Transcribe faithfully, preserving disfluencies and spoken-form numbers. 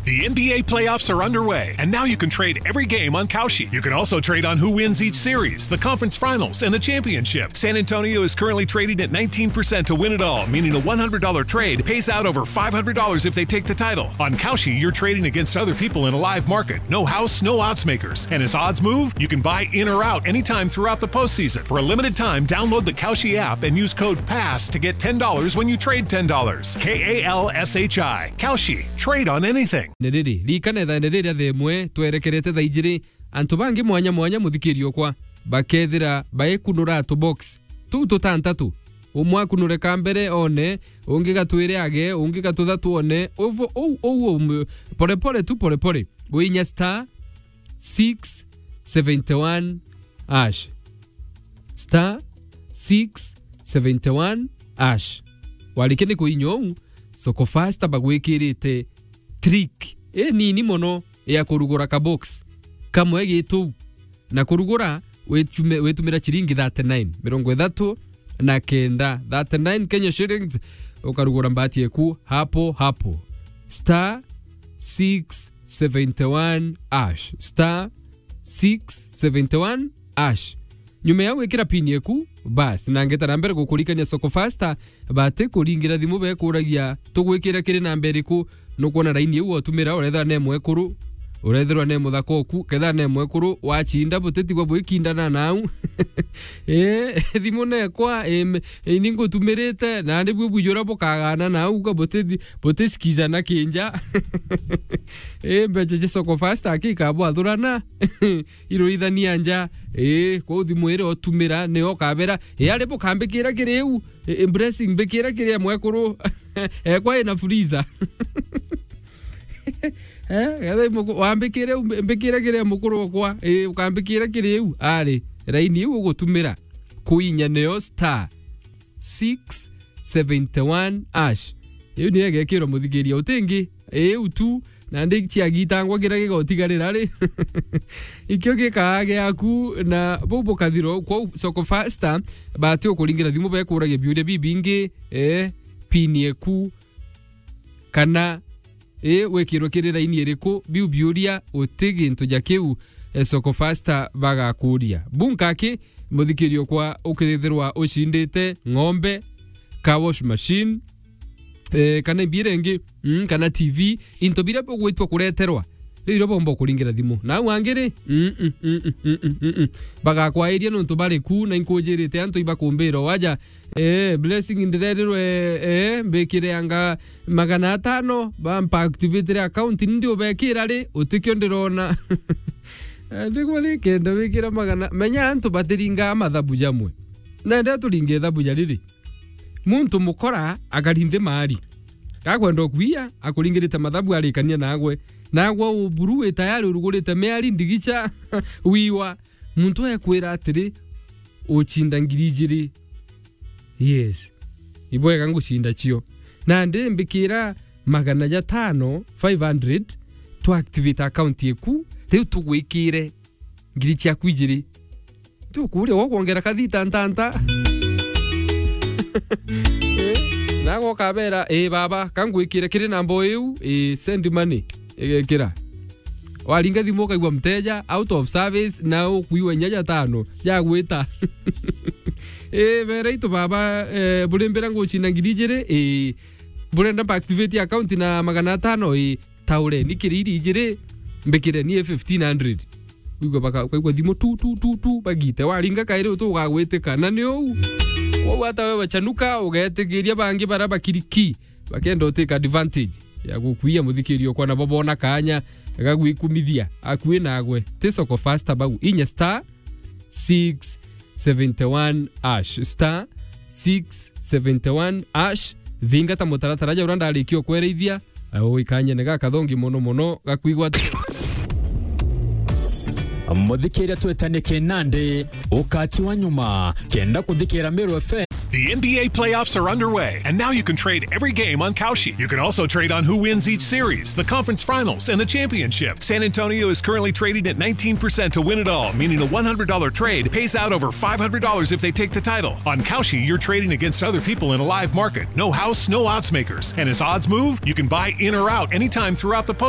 The N B A playoffs are underway, and now you can trade every game on Kalshi. You can also trade on who wins each series, the conference finals, and the championship. San Antonio is currently trading at nineteen percent to win it all, meaning a one hundred dollar trade pays out over five hundred dollars if they take the title. On Kalshi, you're trading against other people in a live market. No house, no odds makers. And as odds move, you can buy in or out anytime throughout the postseason. For a limited time, download the Kalshi app and use code pass to get ten dollars when you trade ten dollars. K A L S H I. Kalshi. Trade on anything. Ni riri, ririkana ithaa ni riria thaa imwe twerekerete thaa ijiri, antu bangi mwanya mwanya, muthikiri okwa, bakethira baikunura tubox tuu tutantatu. Umwe akunure ka mbere one, ungi gatwire age, ungi gatuthatu one, uvo ou ou um, pole pole tu, pole pole. Winya star six seventy one hash. Star six seventy one hash. Warikia ni kuinya uu, Soko Fasta bagwikirite trick inini mono ya kurugura ka box kamwe gitu, na kurugura witume-, witumira ciringi thirty nine, mirongo ithatu na kenda, thirty nine Kenya shillings, ukarugura mbati eku hapo hapo. Star six seventy one hash. Star six seventy one hash. Nyuma ya gwikira pin eku, bas, na ngeta na mbere gukurikania Soko Fasta, bati kuringira thimu bekuragia, "Tugwikira kiri namba iriku?" Nukwona raini iu otumira, urethirwa ne mwekuru, urethirwa ne muthaka oku, kethirwa ne mwekuru, wacinda butitigwa bwikindana nau. Eh, thimu nekwa, em, ini ngutumirite, na ni bwi bwijura bukagana nau, ka butithi-, butisikizana kinja. Eh, mbeca cia Soko Fasta aki ikabwathurana. Iruithania nja. Ii, kwou thimu iria utumira, niyo ukabera, "Ii, ari bukambikira kiri iu, ii, blessing mbikira kiri mwekuru." Ekwa ina freezer. Eh, getha imuku-, wambikire u, mbikire kiri mukuru okwa, ii, ukambikira kiri iu. Ari, raini iu ugutumira, kuinya niyo star six seventy one hash. Iu niyo igekirwa muthikiria utingi. Iu tu, na ndi ciagitangwa kira gigotigarira ri. Ikio gikaa giaku, na bau bukathirwa kwou Soko Fasta, bati ukuringira thimu bekuragia biuria bibingi, eh, pin eku, kana, eh, wikirwe kiri raini iriku, biu biuria uti gintu ja kiu, eh, Soko Fasta bagakuria. Bunka ki, muthikiri okwa, ukithirwa ucindite ng'ombe, car wash machine, eh, kana imbira ingi, mm, kana T V, into biria bugwitwa kureterwa, riu irio bomba kuringira thimu. Nau angi ri, mm, mm, mm, mm, mm, mm, mm. Bagakwairia nontu bari ku, na inkujirite antu ibakumbira waja, eh, blessing ndirerirwe, eh, mbikire anga magana atano, bampa activate account, ndi ubekira ri, utikio ndirona. Ndigwa ri, kenda wikira magana, menya antu batiringaa mathabu jamwe. Nenda turinge ithabu ja riri. Muntu mukora akari nthi maari. Gakwenda ukuia, akuringirite mathabu arikania nagwe. Nagwe uburu wi tayari urugurite miari ndigicha wiwa. Muntu ekwira atiri, "Ucinda ngiri ijiri." Yes. Ibwega ngucinda cio. Nandi mbikira magana jatano, five hundred, tu activate account yeku, riu tugwikire ngiri ciaku ijiri. Tukuria gwa kwongera kathita ntanta. Eh, nago ukabera, "Ii baba, ka ngwikire kiri namba iu, ii, send money." Igekira. Waringa thimu ukaigua mteja out of service, na ukuigua inya jatano jagwita. Ii, bera itu baba, eh, burimbira ngucina ngiri ijiri, ii, burenda mpa activate account na magana atano, ii, taureni kiri iri ijiri, mbikireni fifteen hundred. Uigua baka-, ukaigua thimu tu, tu, tu, tu, bagite. Waringa kairi utu ugagwitika. Na ni uu. Kwou hata wewe chanuka, ugetigiria bangi bara bakiriki, bakenda utake advantage ya gukuia muthikiri okwa, nabo bona kanya ga gwikumithia akui nagwe. Ti Soko Fasta bau. Inya star six seventy one hash, star six seventy one hash. Thingata mutaratara ja uria ndarikia ukwereithia, au ikanyene gakathongi mono mono gakwigwa. Muthikiria twetanie kinandi, ukati wa nyuma, kenda kuthikira Meru F M. The N B A playoffs are underway, and now you can trade every game on Kalshi. You can also trade on who wins each series, the conference finals, and the championship. San Antonio is currently trading at nineteen percent to win it all, meaning a one hundred dollar trade pays out over five hundred dollars if they take the title. On Kalshi, you're trading against other people in a live market. No house, no odds makers. And as odds move, you can buy in or out anytime throughout the post